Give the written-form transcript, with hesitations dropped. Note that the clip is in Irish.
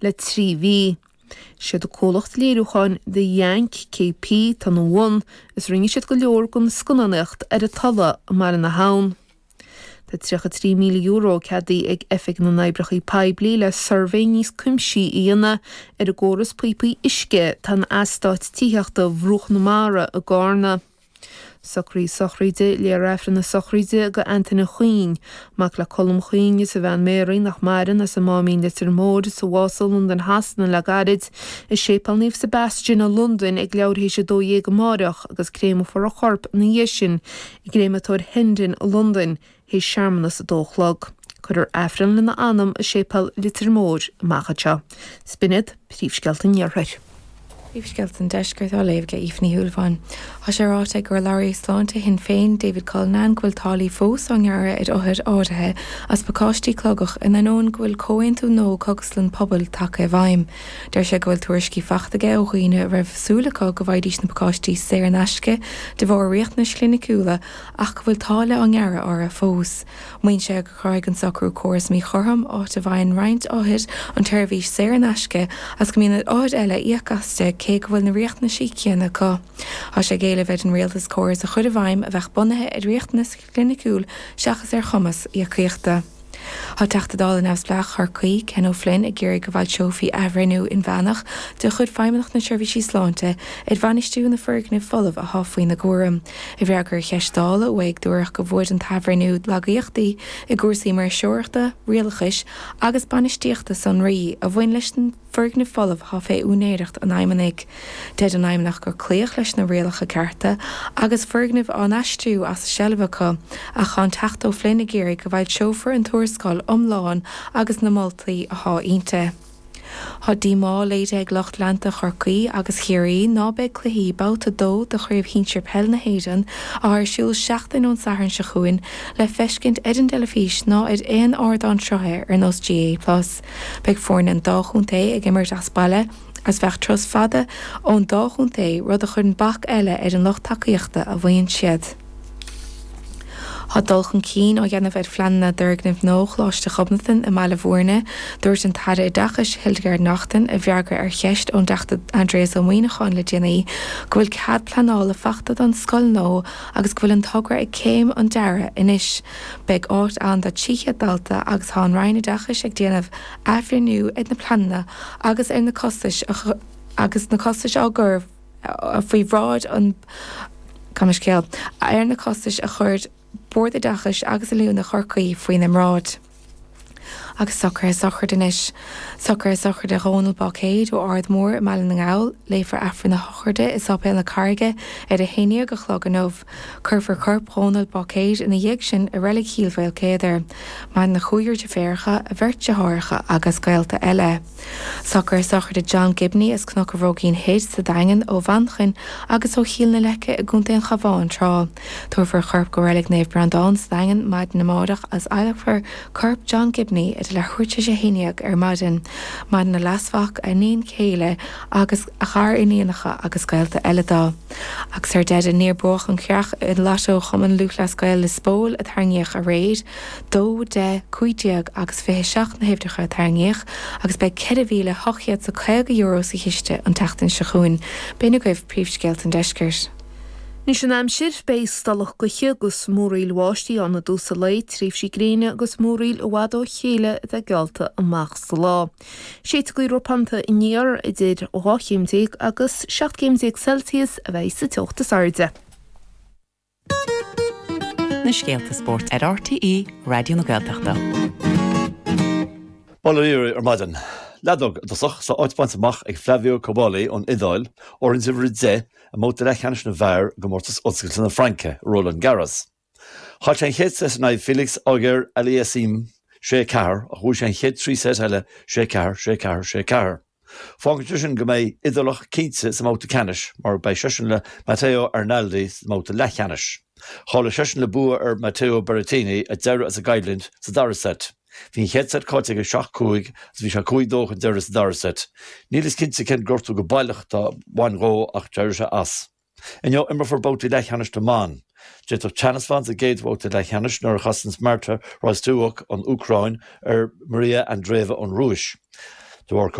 le 3 mhí. Siad an comhlacht léiriúcháin The Yank KP atá ina bhun is rinne siad go leor den scannánaíocht ar an Tulaigh i mBaile na hAbhann. Tá €33,000 ceadaithe ag Oifig na nOibreacha Poiblí le suirbhé níos cuimsí a dhéanamh ar an gcóras píopaí uisce atá in eastát tithíochta Bhruach na Mara i gCarna. Socruithe sochraide, Léifear Aifreann na sochraide do Antaine Chuinn, mac le Colm Chuinn is a bhean Mary nach maireann as an Máimín Leitir Móir a bhásaigh i Londain Shasana le gairid, i Séipéal Naomh Sebastian i Londain ag leathuair théis 12 amáireach agus créamfar a chorp ina dhiaidh sin i gCréamatóir Hendon i Londain théis searmanas a dó a chlog. Cuirfear Aifreann lena anam i Séipéal Leitir Móir amach anseo. 'S b'in iad príomhscéalta an Iarthair. Príomhscéalta an Deiscirt á léamh ag Aoife Ní Shúilleabháin. Tá sé ráite ag urlabhraí sláinte Shinn Féin, David Cullinane, go bhfuil táillí fós á ngearradh ar othair áirithe as pacáistí cogaidh in ainneoin go bhfuil comhaontú nua Cógaslann Pobail tagtha i bhfeidhm. Deir sé go bhfuil tuairiscí faighte aige ó dhaoine a raibh súil acu go bhfaighidís na pacáistí saor in aisce de bharr riachtanais chliniciúla ach go bhfuil táille á ngearradh orthu fós. Maíonn sé gur chruthaigh an socrú córas míchothrom, áit a bhfaigheann roinnt othair an tseirbhís saor in aisce agus go mbíonn ar othair eile íoc aisti cé go bhfuil na riachtanaisí céanna acu. Tá sé ag éileamh ar an rialtas córas a chur i bhfeidhm a bheadh bunaithe ar riachtanas cliniciúil seachas ar chumas íocaíochta. Tá Teachta Dála Neamhspleách Chorcaí, Ken O'Flynn, ag iarraidh go bhfoilseofaí athbhreithniú inmheánach de chuid Feidhmeannacht na Seirbhísí Sláinte ar bhainistiú na foirgnimh folamh athá faoina gcúram. I bhfreagra ar cheist Dála uaidh dúradh go bhfuair an t-athbhreithniú lagaíochtaí i gcúrsaí maoirseoireachta, rialachais agus bainistíochta sonraí a bhain leis na foirgnimh folamh athá fé úinéireacht an Fheidhmeannaigh. Deir an Fheidhmeannacht gur cloíodh leis na rialacha cearta agus foirgnimh á n-aistriú as a seilbh acu, ach tá an Teachta O'Flynn ag iarraidh go bhfoilseofar an tuarascáil iomlán agus na moltaí athá inti. Tá díomá léirithe ag lucht leanta Chorcaí agus Chiarraí ná beidh cluichí Babhta 2 de Chraobh Shinsir Peil na hÉireann, athá ar siúl seachtain ón Satharn seo chugainn, le feiscint ar an dteilifís ná ar aon ardán sruthaithe ar nós GAA Plus. Beidh foirne an dá chontae ag imirt as baile agus bheadh turas fada ón dá chontae, rud a chuireann bac eile ar an lucht tacaíochta a mhaíonn siad. Tá dul chun cinn á dhéanamh ar phleananna d'fhoirgneamh nua Choláiste Ghobnatan i mBaile Bhúirne. Dúirt an tAire Oideachais Hildegarde Naughton i bhfreagra ar cheist ón dTeachta Aindrias Ó Muíneacháin le déanaí go bhfuil cead pleanála fachta don scoil nua agus go bhfuil an togra ag céim an dearaidh anois. Beidh áit ann do 300 dalta agus tá an Roinn Oideachais ag déanamh athbhreithniú ar na pleananna agus ar na costais agus na costais á gcur faoi bhráid an Gabh mo leithscéal, ar na costais a chuir Bord Oideachais agus Oiliúna Chorcaí faoina mbráid. Agus socruithe sochraide anois. Socruithe sochraide Dhónal Báicéid ó Ard Mór i mBaile na nGall. Léifear Aifreann a shochraide i Sáipéal na Carraige ar a haon dhéag a chlog inniu. Cuirfear corp Dhónal Báicéid ina dhiaidh sin i Reilig Chill Mhaolcéadair. Maireann a chúigear deirféaracha, a bheirt deartháireacha agus gaolta eile. Socruithe sochraide John Gibney as Cnoc an Bhróigín Thoir sa Daingean, ó Mhanchain agus ó Chill na Leice i gContae an Chabháin tráth. Tabharfar a chorp go Reilig Naomh Breandán sa Daingean maidin amárach agus adhlacfar corp John Gibney idir leathuair tar éis a haon dhéag ar maidin. Maireann a leasmhac, a iníon chéile agus a ghariníonacha agus gaolta eile dó. Agus ar deireadh, níor buadh an chreach i Lotto Chumann Lúthchleas Gael Lios Póil a tarraingíodh aréir. 2, 10, 15 agus 27 na huimhreacha a tarraingíodh agus beidh €4,850 sa chiste an tseachtain seo chugainn. B'in agaibh príomhscéalta an deiscirt. Anois an aimsir, beidh stolladh gaoithe agus múraíl bháistí ann i dtús an lae, tréimhsí gréine agus múraíl i bhfad ó chéile atá geallta amach sa lá. Séidfidh gaoth ropánta aniar idir 12 chéim agus 17 céim Celsius a bheidh sa teocht is airde. Na scéalta spóirt ar RTÉ Raidió na Gaeltachta. Bail ó Dhia oraibh ar maidin. Leadóg i dtosach, tá áit bainte amach ag Flavio Cobolli ón Iodáil, fhoireann uimhir 10, i mbabhta leathcheannais na bhfear i gcomórtas Oscailte na Fraince, Roland Garros. Chaill sé an chéad seit in aghaidh Felix Auger-Aliassime, 6, 4, ach bhuaigh sé an chéad 3 seit eile, 6, 4, 6, 4, 6, 4. Fágann sé sin go mbeidh Iodálach cinnte sa mbabhta ceannais mar beidh seisean le Matteo Arnaldi sa mbabhta leathcheannais. Cháiligh seisean le bua ar Matteo Berrettini a d'éirigh as an gcoimhlint sa dara seit. Bhí an chéad seit caillte aige 7, 5 agus bhí sé 5, 2 chun deiridh sa dara seit. Níl fhios cinnte cén gortú go baileach a bhain dhó ach d'éirigh sé as. Inniu imreofar babhtaí leathcheannais na mban. D'fhéadfadh teannas bheith ann sa gcéad bhabhta leathcheannais nuair a chasanns Marta Kostyuk ón Úcráin ar Maria Andreeva ón Rúis. De bharr.